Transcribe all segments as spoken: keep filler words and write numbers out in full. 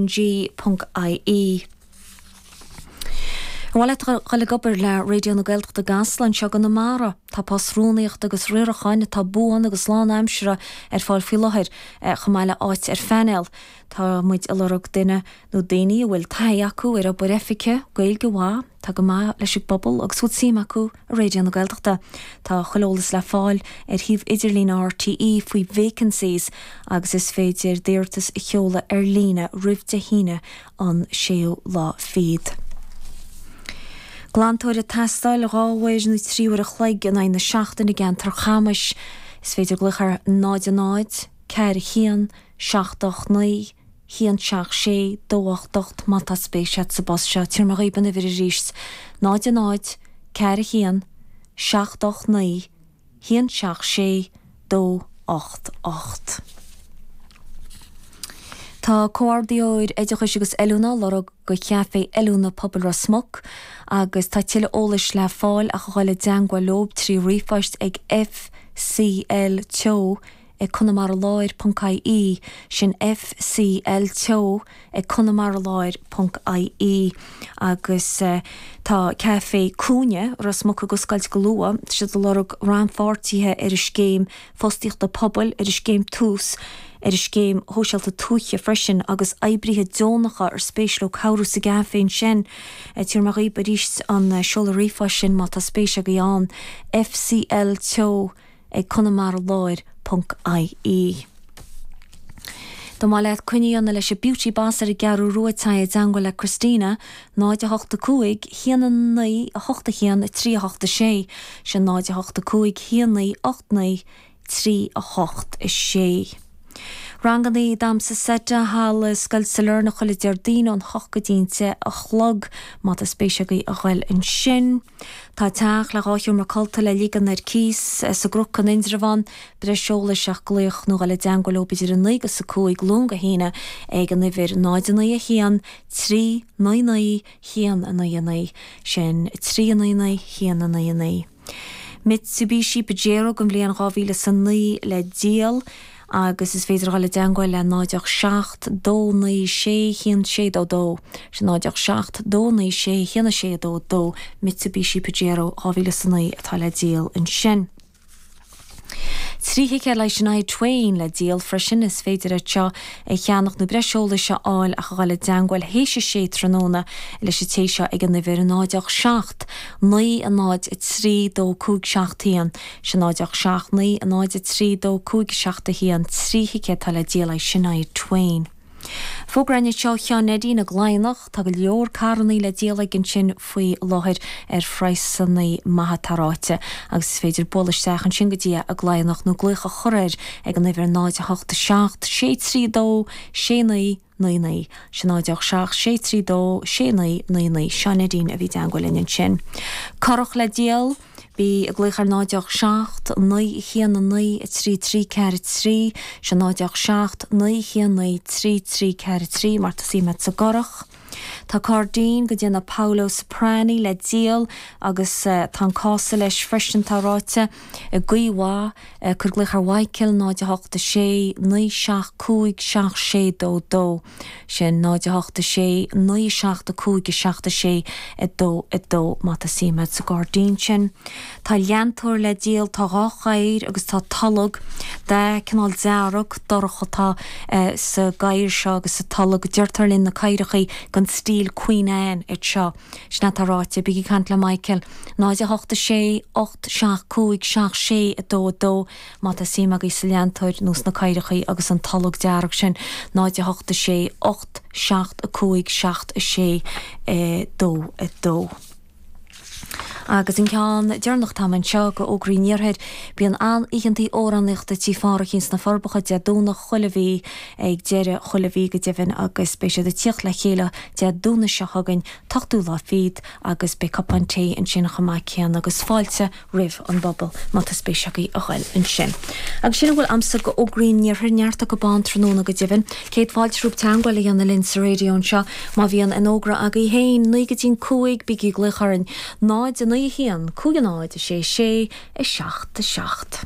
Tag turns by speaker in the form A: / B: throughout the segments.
A: G ponc IE. Ar mhaith leat dhul ag obair le Raidió na Gaeltachta i gCasla anseo i gConamara? Tá post rúnaíochta agus riaracháin atá buan agus lánaimseartha ar fáil faoi láthair, chomh maith le áit ar phainéal. Tá muid ag lorg duine nó daoine a bhfuil taithí acu ar obair oifige, Gaeilge mhaith, atá go maith leis an bpobal agus bhfuil suim acu i Raidió na Gaeltachta. Tá chuile eolas le fáil ar shuíomh idirlín RTÉ faoi Vacancies agus is féidir d'iarratas a sheoladh ar líne roimh Dé hAoine an séú lá fichead. Glantóir ag teastáil dhá uair nó trí uair a chloig in aghaidh na seachtaine i gceantar Chamais. Is féidir glaoch ar náid a náid, ceathair a haon, seacht ocht naoi, haon seacht sé, dó ocht ocht má tá spéis agat sa bpost seo. Tabharfaidh mé dhaoibh an uimhir arís, náid a náid, ceathair a haon, seacht ocht naoi, haon seacht sé, dó ocht ocht. Tá Comhordaitheoir Oideachais agus Oiliúna á lorg do Chaifé Oiliúna Pobail Ros Muc agus tá tuilleadh eolais le fáil ach a dhul i dteangmháil leo trí ríomhphost ag F C L Teo ag conamaraláir ponc I E, sin F C L Teo ag conamaraláir ponc I E. Agus tá Caifé Cúinne Ros Muc ag oscailt go luath, tá siad ag lorg rannpháirtithe ar an scéim fostaíochta pobail, ar an scéim Tús, ar an scéim shóisialta tuaithe freisin agus oibrithe deonacha ar spéis leo cabhrú sa gcaifé ansin. Tabharfaidh mé dhaoibh arís an seoladh ríomhphoist sin má tá spéis agaibh ann, F C L Teo ag conamaraláir ponc I E. Dá mba leat coinne a dhéanamh leis an Beauty Boss ar an gCeathrú Rua téigh i dteangmháil le Christina, náid a hocht a cúig, haon a naoi, a hocht a haon, a trí a hocht a sé, sin náid a hocht a cúig, haon naoi, ocht naoi, trí a hocht a sé. Rangannaí damhsa seite thall i Scoil Sailearna chuile Déardaoin ón hocht go dtí an deich a chlog má tá spéis agaibh a ghoil ansin. Tá teach le dhá sheomra codlata le ligean ar cíos sa gCnoc in Indreabhán, breis eolais ach glaoch nó dhul i dteangmháil leo idir a naoi agus a cúig Luan go hAoine ag an uimhir náid a naoi a haon trí naoi naoi haon a naoi a naoi, sin trí a naoi naoi haon a naoi a naoi. Mitsubishi Pajero den bhliain dhá mhíle is a naoi le díol agus is féidir dhul i dteangmháil le náid ocht seacht dó naoi sé haon sé dó dó, sin náid ocht seacht dó naoi sé haon sé dó dó, Mitsubishi Pajero dhá mhíle is a naoi atá le díol ansin. Trí thicéad le Shania Twain le díol freisin, is féidir iad seo a cheannach nó breis eolais a fháil ach a dhul i dteangmháil théis a sé tráthnóna leis an té seo ag an uimhir náid ocht seacht naoi a náid a trí dó cúig seacht haon, sin náid ocht seacht naoi a náid a trí dó cúig seacht a haon, trí thicéad atá le díol le Shania Twain. Fógra anseo ó Sheán Neidín i gCladhnach, tá go leor carrannaí le díol aige ansin faoi láthair ar phraghsannaí maithe atá ráite agus is féidir bualadh isteach ansin go dtí é i gCladhnach nó glaoch a chur air ag an uimhir náid a hocht a seacht sé trí dó sé naoi naoi naoi, sin náid ocht seacht sé trí dó sé naoi naoi naoi. Seán Neidín a bhí i dteangmháil linn ansin. Curach le díol. Bí ag glaoch ar náid ocht seacht naoi haon a naoi a trí trí ceathair trí, sin náid ocht seacht naoi haon naoi trí trí ceathair trí má tá suim agat sa gcurach. Tá cairdín de dhéanamh Paolo Soprani le díol agus tá an cása leis freisin tá ráite i gcaoi mhaith. Cuir glaoch ar Mhichael náid a hocht a sé naoi seacht cúig seacht sé dó dó, sin náid a hocht a sé naoi seacht a cúig a seacht a sé a dó a dó má tá suim agat sa ghairdín sin. Tá leantóir le díol, tá dhá chathaoir agus tá tolg de cineál dearg dorcha atá sa gcathaoir seo agus sa tolg. Deirtear linn na cathaoireachaí den stíl Queen Anne iad seo. Sin atá ráite. Bígí ag caint le Michael. náid a hocht a sé ocht seacht cúig seacht sé a dó a dó má tá suim agaibh sa leantóir nó sna cathaoireachaí agus an tolg dearg sin. náid a hocht a sé ocht seacht a cúig seacht a sé a dó a dó. Agus an ceann deireanach atá anseo de fhógraí an iarthair, bíonn an-oícheantaí amhránaíochta Tí Pháraic sna Forbacha Dé Domhnach chuile mhí ag deireadh chuile mhí go deimhin agus beidh siad ag tíocht le chéile Dé Domhnaigh seo chugainn, t-ochtú lá fichead agus beidh cupán tae ansin chomh maith céanna agus fáilte roimh an bpobal má tá spéis agaibh a ghoil ansin. Agus sin a bhfuil a'msa de fhógraí an iarthair, neart acu ann tráthnóna go deimhin. Céad fáilte romhaibh teangmháil a dhéanamh linn sa raidió anseo má bhíonn aon fhógra agaibh féin, naoi go dtí'n cúig, bígí ag glaoch orainn, náid a naoi a haon, cúig a náid, a sé sé, a seacht a seacht.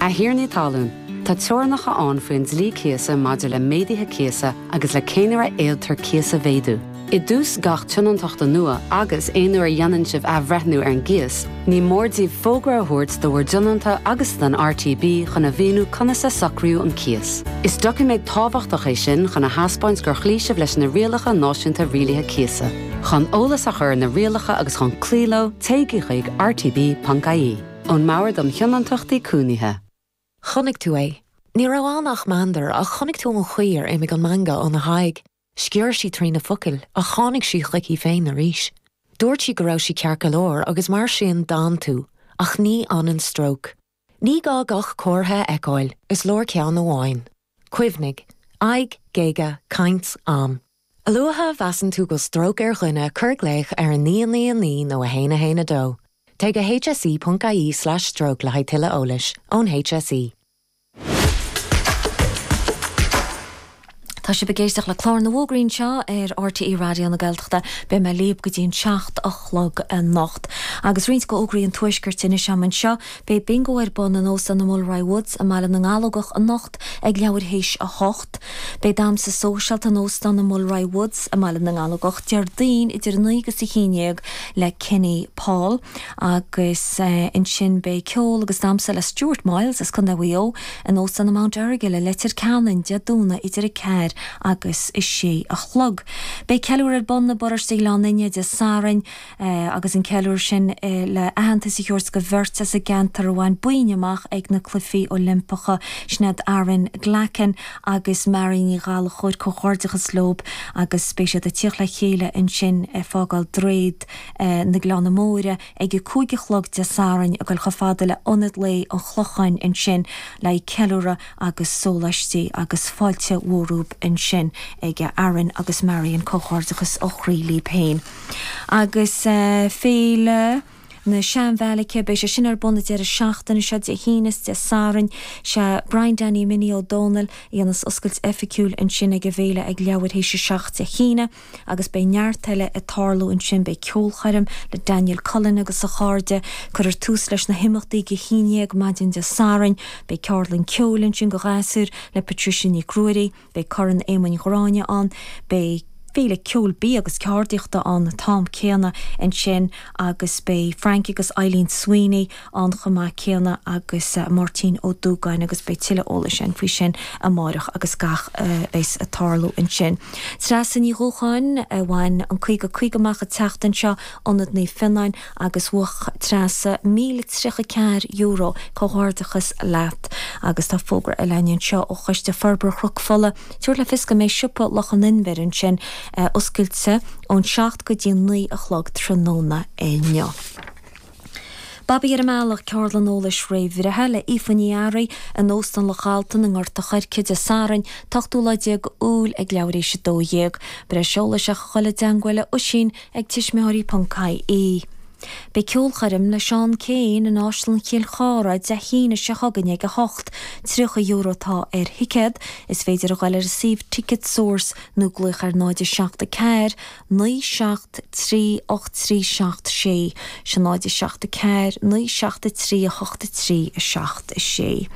B: A thiarnaí talún, Tá teorainneacha ann faoin dlí cíosa maidir le méaduithe cíosa agus le cén uair a fhéadtar cíos a mhéadú. I dtús gach tionóntachta nua agus aon uair a dhéanann sibh athbhreithniú ar an gcíos, ní mór daoibh fógra a thabhairt do bhur dtionónta agus don RTB chun a mhíniú conas a socraíodh an cíos. Is doiciméad tábhachtach é sin chun a thaispeáint gur chloígh sibh leis na rialacha náisiúnta rialaithe cíosa. Chun eolas a chur na rialacha agus chun cloí leo téigh chuig rtb.ie. Ón mBord um Thionóntachtaí Cónaithe.
C: Chonaic tú é. Ní raibh ann ach meandar ach chonaic tú an chaoi ar imigh an meangadh óna haghaidh. Sciorr sí trí na focail ach tháinig sí chuici féin arís. Dúirt sí go raibh sí ceart go leor agus mar sin d'fhan tú, ach ní fhanann stróc. Ní gá gach comhartha a fheiceáil is leor ceann amháin. Cuimhnigh, aghaidh, géaga, caint, am. A luaithe a mheasann tú go stróc ar dhuine cuir glaoch ar a naoi naoi naoi nó a haon a haon a dó. Téigh go hse.ie slash stroke le haghaidh tuilleadh eolais ón HSE.
A: Tá sibh ag éisteacht le clár na bhfógraí anseo ar RTÉ Raidió na Gaeltachta. Beidh mé libh go dtí an seacht a chlog anocht. Agus roinnt de fhógraí an Tuaiscirt anois agam anseo, beidh bingo ar bun in Óstán na Mulroy Woods i mBaile na nGallógach anocht ag leathuair théis a hocht. Beidh damhsa sóisialta in Óstán na Mulroy Woods i mBaile na nGallógach Déardaoin idir a naoi agus a haon déag le Kenny Paul agus ansin beidh ceol agus damhsa le Stuart Miles as Contae Mhaigh Eo in Óstán na Mount Errigal i Leitir Ceanainn Dé Domhnaigh idir a ceathair agus a sé a chlog. Beidh ceiliúradh ar bun i bparóiste Ghleann Fhinne Dé Sathairn agus an ceiliúradh sin le aitheantas a thabhairt do bheirt as an gceantar a bhain boinn amach ag na Cluichí Oilimpeacha, sin iad Aaron Glackin agus Mary Ní Ghallchóir. Comhghairdeachas leo agus beidh siad ag tíocht le chéile ansin ag fágáil Droichead na Gleanna Móire ag a cúig a chlog Dé Sathairn ag dul chomh fada le Ionad Lae an Chlocháin ansin le ceiliúradh agus sóláistí agus fáilte mhór rompu ansin ag Aaron agus Marion comhghairdeachas ó chroí libh féin. Agus féile na Seanbheairice, beidh sé sin ar bun an deireadh seachtaine seo Dé hAoine is Dé Sathairn. Sé Brian Danny Minnie Ó Dónaill a dhéanas oscailt oifigiúil ansin ag an bhféile ag leathuair théis a seacht Dé hAoine agus beidh neart eile ag tarlú ansin, beidh ceolchoirm le Daniel Cullen agus a chairde, cuirfear tús leis na himeachtaí ag a haon déag maidin Dé Sathairn, beidh ceardlann ceoil ansin do ghasúir le Patricia Nic Ruairí, beidh Corn Éamoinn Ghráinne ann, beidh féile ceoil, bia agus ceardaíochta ann an t-am céanna ansin agus beidh Frank agus Eileen Sweeney ann chomh maith céanna agus Máirtín Ó Dúgáin agus beidh tuilleadh eolais againn faoi sin amárach agus gach a bheas ag tarlú ansin. Treasa Ní Dhúcháin a bhain an caoga caoga amach an tseachtain seo, Ionad Naomh Fionnáin agus bhuaigh Treasa míle tríocha ceathair euro, comhghairdeachas leat agus tá fógra eile againn anseo ó Choiste Forbartha Chnoc Fola tabhairt le fios go mbeidh siopa Loch an Inbhir ansin oscailte ón seacht go dtí naoi a chlog tráthnóna inniu. Babaí ar an mBealach, ceardlann eolais réamhbhreithe le Aoife Ní Fhearraigh in Óstán Loch Altan i nGort a' Choirce Dé Sathairn, t-ochtú lá déag Iúil ag leathuair théis a dó dhéag. Breis eolais ach a dhul i dteangmháil le Oisín ag tuismitheoirí ponc ie. Beidh ceolchoirm le Seán Keane in Áislann Chill Chartha Dé hAoine seo chugainn ag a hocht. Tríocha euro atá ar thicéad. Is féidir a ghoil ar an suíomh Ticketsource nó glaoch ar náid a seacht a ceathair, naoi seacht trí ocht trí seacht sé. Sin náid a seacht a ceathair, naoi seacht a trí a hocht a trí a seacht a sé.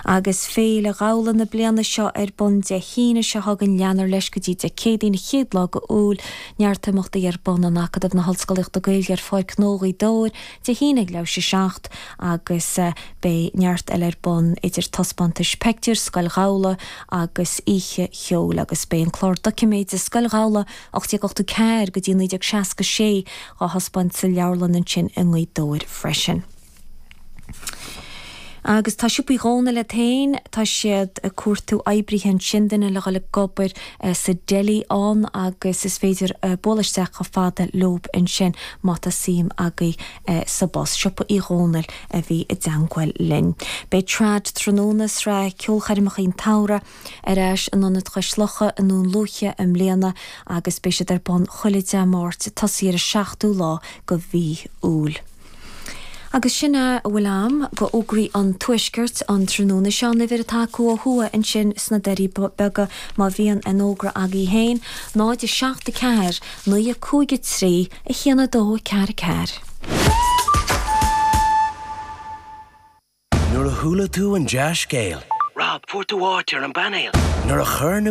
A: Agus Féile Ghabhla na bliana seo ar bun Dé hAoine seo chugainn, leanfar leis go dtí Dé Céadaoin an chéad lá de Iúil. Neart imeachtaí ar bun in Acadamh na hOllscolaíochta Gaeilge ar Pháirc Ghnó Ghaoth Dobhair Dé hAoine ag leathuair théis a seacht agus beidh neart eile ar bun idir taispeántais peictiúr, Scoil Ghabhla agus oíche cheoil agus beidh an clár doiciméide Scoil Ghabhla ocht déag ochtó ceathair go dtí naoi déag seasca sé á thaispeáint sa leabharlann ansin i nGaoth Dobhair freisin. Agus tá Siopa Uí Dhónaill iad féin, tá siad ag cuartú oibrithe ansin, duine le dhul ag obair sa deli ann agus is féidir bualadh isteach chomh fada leob ansin má tá suim agaibh sa bpost. Siopa Uí Dhónaill a bhí i dteangmháil linn. Beidh Trad Tráthnóna, sraith ceolchoirmeacha an tsamhraidh, ar ais in Ionad Chois Locha i nDún Lúiche i mbliana agus beidh siad ar bun chuile Dé Máirt ag tosaí ar an seachtú lá de mhí Iúil. Agus sin é a bhfuil a'm de fhógraí an Tuaiscirt an tráthnóna seo, an uimhir atá acu ó thuaidh ansin sna Doirí Beaga má bhíonn aon fhógra agaibh féin, náid a seacht a ceathair, naoi a cúig a trí, a haon a dó a ceathair a ceathair.
D: Nuair a chuala tú an dea-scéal.
E: Rob, fuair tú áit ar an bpainéal.
D: Nuair a chur na